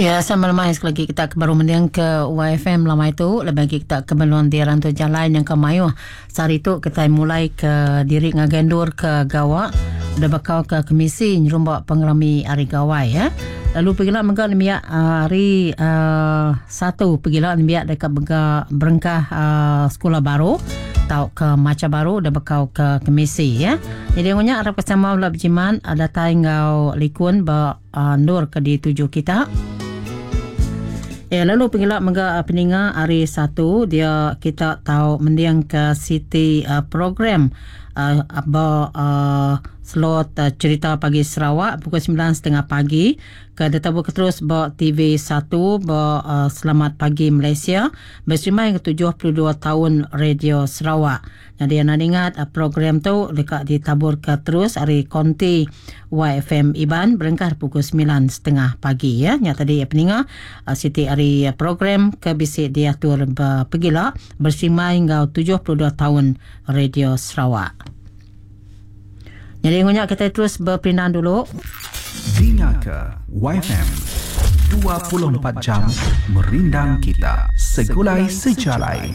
Ya, sama lemai sekali lagi kita ke baru mending ke YFM lamai tu lebih lagi kita ke meluan di rantu jalai yang ke mayuh sehari tu kita mulai ke diri ngagai endur ke gawa udah bakal ke kemisi nyerumba pengerami hari gawai ya. Lalu pegila mega nembiak hari satu pegila nembiak deka mega berengkah sekula baru tauka macha baru udah bekau ke kemisi ya. Jadi ngunya arap ke sama bela bejimat datai enggau likun ba Endur ke dituju kita. Ya, lalu pengila mega peninga hari Satu dia kita tau mending ke siti program ba slot Cerita Pagi Sarawak pukul semilan setengah pagi ke ditabuh ke terus ba TV satu ba Selamat Pagi Malaysia beserimbai enggau 72 taun Radio Sarawak. Nyadi anang ingat program tu deka ditaburka terus ari konti YFM Iban berengkah pukul semilan setengah pagi ya. Nya tadi peninga siti ari program ke bisi diatur bepegila besimbai enggau 72 taun Radio Sarawak. Nyadi ngunya kitai terus beperindang dulu. Dinga ke YFM 24 jam merindang kita segulai sejalai.